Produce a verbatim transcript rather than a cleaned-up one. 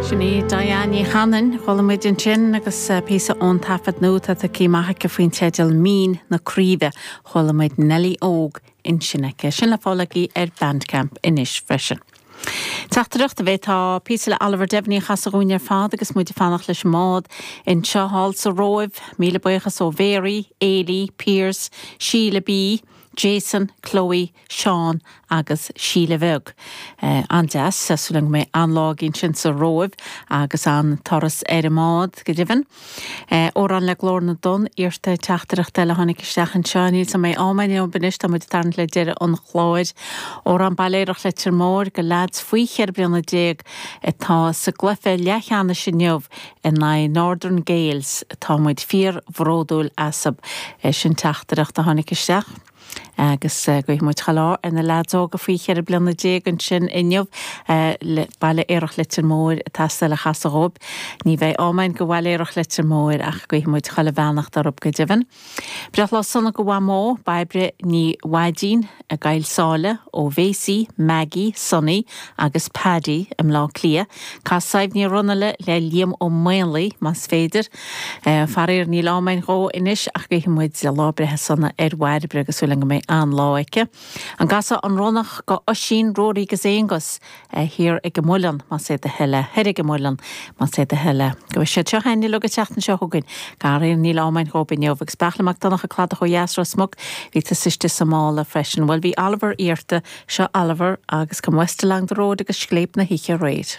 Sin í Diane Ní Chanainn chuala muid ansin agus píosa ón taifead nua atá aici amach aici faoin teideal Mín na Craoibhe chuala muid Nelly Óg ansin aici. Sin le fáil aici ar Bandcamp anois freisin. Teachtaireacht a bheith tá píosa le Oliver Devaney a chasadh dúinn ar fad agus muid ag fanacht leis an mbád anseo thall sa Róimh, míle buíochas ó Mhary, Ailey, Pierce, Sheila B, Jason, Chloe, Sean agus Síle Bheag. Uh, an-deas súil go mbeidh an-lá againn sin sa Róimh agus an turas ar an mbád go deimhin. Uh, Amhrán le Glór na dTonn iarrta teachtaireacht eile tháinig isteach anseo níl sa mé ámain benis tá muid tarn le deireadh an chláir. Amhrán Bailéireach Leitir Móir go lads faoi cheithre bliana déag atá sa gcluiche leathcheannais inniu in aghaidh Northern Gaels tá muid fíorbhródúil asaibh sin teachtaireacht a tháinig isteach. agus guífidh muid chuile ádh ar na lads óga faoi cheithre bliana déag ansin inniu Baile Aerach Leitir Móir atá le chasadh dóibh. Ní bheidh ámain go Bhaile Aerach Leitir Móir ach guífidh muid chuile bheannacht orthu go deimhin. Breithlá sona go Mhamó Bairbre Ní Mhaidín i gCoill Sáile ó Mhacy, Maggie, Sonny agus Paddy i mBleá Cliath, Cas Sadhbh Ní Raghallaigh le Liam Ó Maonlaí más féidir. Faraor níl ámain dhó anois ach guífidh muid lá breithe sona ar Bhairbre agus súil go mbeidh an-lá aici. An gcasfá An Ronnach go Oisín Rory agus Aonghus thiar ag an Muileann más é do thoil é thoir ag an Muileann más é do thoil é. Go bhfuil siad seo haine le go teachtain seo chugainn Gair níl ámain dhó inniu agus Beachla Mac Donncha Cladach ó dheas Ros Muc bhí tú istigh sa mála freisin. Well bhí Oliver iarrta seo Oliver agus Come West Along the Road agus Scléip na hOíche aréir.